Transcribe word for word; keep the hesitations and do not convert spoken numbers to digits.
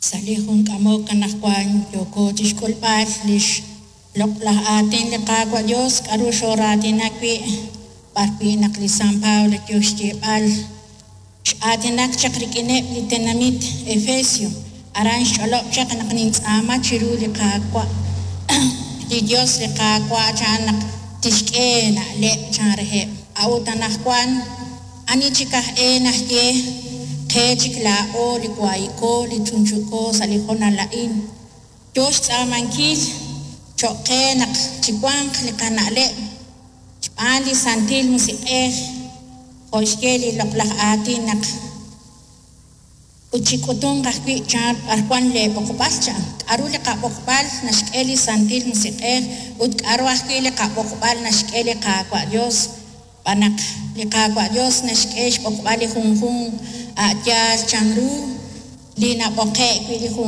Sa' li jun k'amok anaqwan yooko chi xk'ulb'al li xloq'laj aatin li Qaawa' Dios, k'aru xooraatinak wi', b'arwi' naq li San Pablo yo xyeeb'al x'aatinak chaq rik'ineb' li tenamit Efesio, aran xch'olob' chaq naq nintz'aama chiru li Qaawa', li Dios li Qaawa' chan naq tixk'e na'leb' chan reheb'. A'ut anaqwan ani chik aj e naxye qe chik laa'o li waayiko li chunchuko sa' li honal a'in, yo xtz'aamankil cho'q qe naq chiwanq li qana'leb' xb'aan li Santil Musiq'ej, jo' xye li loq'laj aatin naq ut chik'utunq ajwi' chan b'ar wan leeb'oqb'al chan, k'aru li qab'oqb'al naxk'e li Santil Musiq'ej ut k'aru ajwi' li qab'oqb'al naxk'e li Qaawa' Dios, xb'aan naq li Qaawa' Dios naxk'e xb'oqb'al li junjunq a' yaal chanru li nab'oqe'k wi' li junjunq.